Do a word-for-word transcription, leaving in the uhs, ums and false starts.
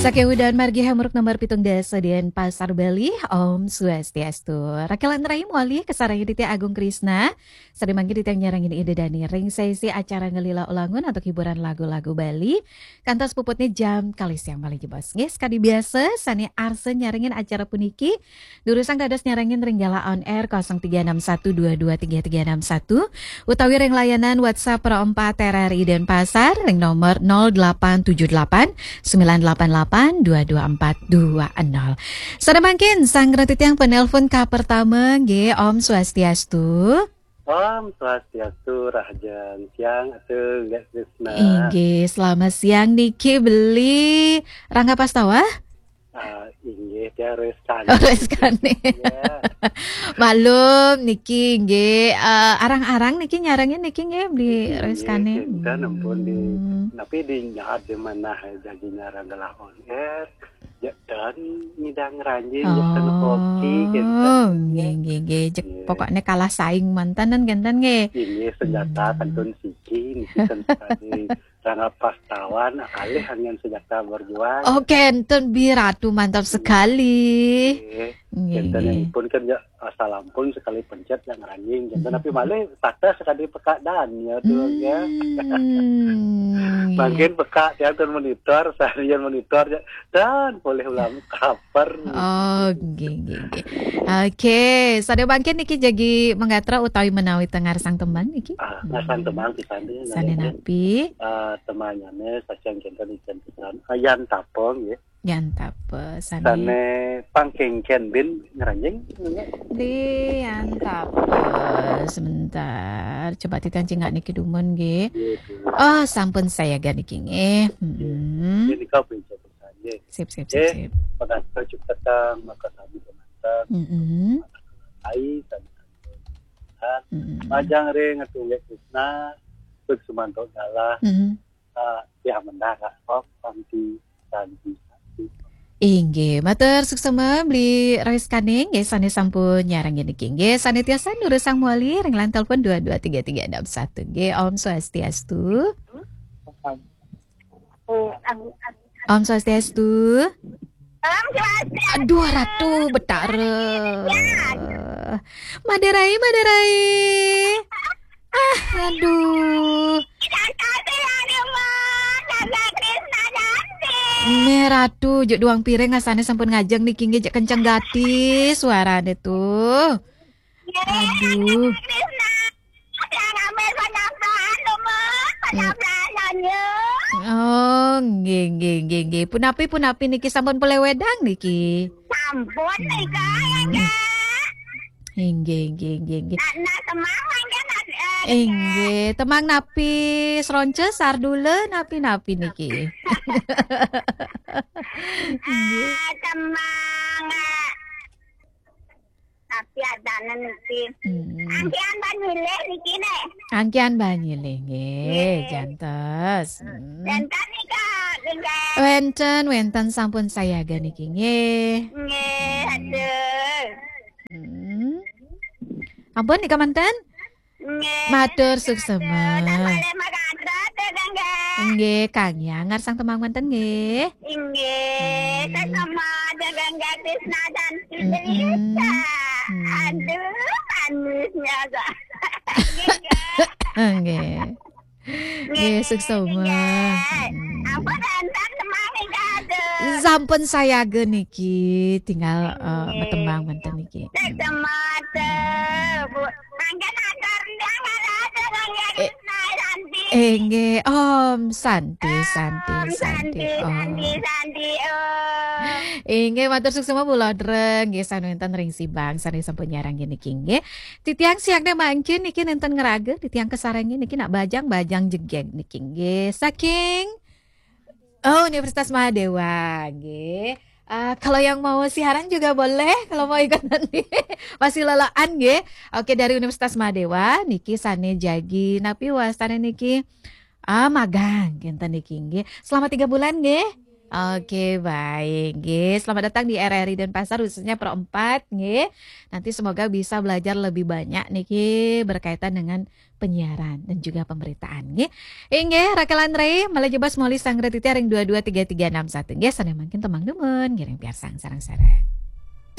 Saking udahan margi hambuuk nomor pitung dasa Denpasar, Bali. Om Swastiastu. Rakelan rahim wali kasarengin titiang Agung Krisna. Sané mangkin titiang nyarengin Ida Dané ring sesi acara Ngelila Ulangun antuk hiburan lagu-lagu Bali. Kantos puputné jam kalih siang malih jebos. Nggih, sakadi biasa, sané arsa nyarengin acara puniki, durusang dados nyarengin ring Gala On Air kosong tiga enam satu dua dua tiga tiga enam satu, utawi ring layanan WhatsApp Pro empat R R I Denpasar ring nomor nol delapan tujuh delapan sembilan delapan delapan dua dua empat dua nol. Sané mangkin, sang titiang penelpon ka pertama, nggih, Om Swastiastu. Om Swastiastu, rahajeng siang, atuh, Nggak Krisna. Inggih, selamat siang niki, beli Rangga Pastawa? Ah, inggih, tiang Reskane. Oh, Reskane. Ya. Malum niki nggih, eh, arang-arang niki nyarengin niki nggih, beli Reskane. Inggih, kinten ampun di, hmm, tapi di nyaat di mana jadi nyareng Gala On Air, ya, dan ngidang ranjing, ya, ten kopi, kinten. Oh, nggih, nggih, nggih. Jek, nggih, pokoknya kalah saing manten, kinten nggih. Inggih, senjata, hmm, kantun siki, niki ten sekali. Rangga Pastawan, kalih angin senjata berjuang. Oh, kenten, Bi Ratu, mantap sekali. Nggih. Nggih, kenten nggih. Pun kan ya, salam pun sekali pencet yang ranjing. Kenten, hmm, tapi malih patah sekali peka dan ya tuh, hmm, ya. Nggih. Mangkin peka, tiang ten monitor, seharian monitor ya. Dan boleh ulam kaper. Oh, nggih, nggih, nggih. Oke, sané mangkin niki jagi manggatra utawi menawi ten ngarsang tembang niki? Ah, ngarsang tembang pisan nggih, sané nggih. Napi? Ah, tembangnyané saking kinten ijen pisan. Ah, Yan Tapong nggih. Yan Tapong, sané. Sané pangkéngkén bin ngranjing, nggih. Di Yan Tapong, sebentar. Coba titiang cingak niki dumun nggih. Nggih, nggih. Oh, sampun sayaga niki nggih. Nggih. Mm-mm. Nggih, nika pincet pisan nggih. Sip, sip, sip, eh, sip. Pangasta cipta kang makasami dumateng. Mm-mm. Ai, sami kami. Mm-mm. Majeng ring Atuh Nggih Krisna, Bik Sumanto Galah, mm-mm, ah, ya, Mendara, oh, Santi, Santi, Santi. Inggih, matur suksma beli Reskane, nggih, sané sampun nyarengin niki, nggih, sané tiasa durusang malih ring line telepon dua dua tiga tiga enam satu, nggih, Om Swastiastu. Om Swastiastu. Om Swastiastu. Aduh, Ratu Betara. Ya. Madarai, Madarai. Ah, aduh. Jangan kasih lagi, Mas. Jangan Krisna Janti. Nih, Ratu, juk duang piring asané sampun ngajeng niki, nggih, juk kenceng gati suarané tuh. Aduh. Krisna, yang ambil penambahan, Uma. Penambahan, Nyonya. Oh, nggih, nggih, nggih, nggih. Punapi, punapi niki sampun polih wedang niki? Sampun, nika, ya, hmm, Kak. Inggih, inggih, inggih, inggih. Nah, nah, temang, mangga, nah, eh, inggih, temang napi, sronce, sardula, napi-napi niki. Inggih. Ah, temang, eh, Tapi adanan niki. Hmm. Angkian banyilih niki, nih. Angkian banyilih, nggih, nggih, jantos. Hmm. Wénten nika, nggih. Wénten, wénten, sampun sayaga niki, nggih. Nggih, aduh. Hmm. Ampun, nika manten? Nggih. Matur suksma. Nggih, Kang Yang ngarsang temang manten nggih. Inggih, hmm, suksma dengan gadis nadan, mm-mm, Indonesia. Hmm. Aduh, manisnya, Kak. Nggih, Kak. Nggih. Nggih, suksma. Nggih. Hmm. Ampun, antar temang nih, Kak. Aduh. Sampun sayaga niki, tinggal, eh, nggih, matembang manten niki. Suksma, Bu. Mangga atur tiang, eh, Santi. Inggih, Om Santi, Santi, Om Santi, Santi, Om Santi, Santi, Om. Inggih, matur suksma Bu Lodreng, nggih, sané wénten ring Sibang, sané sampun nyarengin niki, nggih. Titiang siangné mangkin niki nénten ngraga, titiang kasarengin niki nak bajang-bajang jegég niki, nggih. Saking Oh, Universitas Mahadewa, nggih. Eh, kalau yang mau siaran juga boleh, kalau mau ikut nanti. Masih lelaan, nggih. Oke, dari Universitas Mahadewa, niki sané jagi napi wastané niki? Ah, magang, kinten niki, nggih. Selama tiga bulan, nggih. Oke, baik. Nggih, selamat datang di R R I Denpasar, khususnya Pro empat, nggih. Nanti semoga bisa belajar lebih banyak niki berkaitan dengan penyiaran dan juga pemberitaan, nggih. Inggih, Rakelan Rey, malih jebos moli sang Retiti ring dua dua tiga tiga enam satu, nggih, sané mangkin tembang dumun, ngiring piarsang sareng-sareng.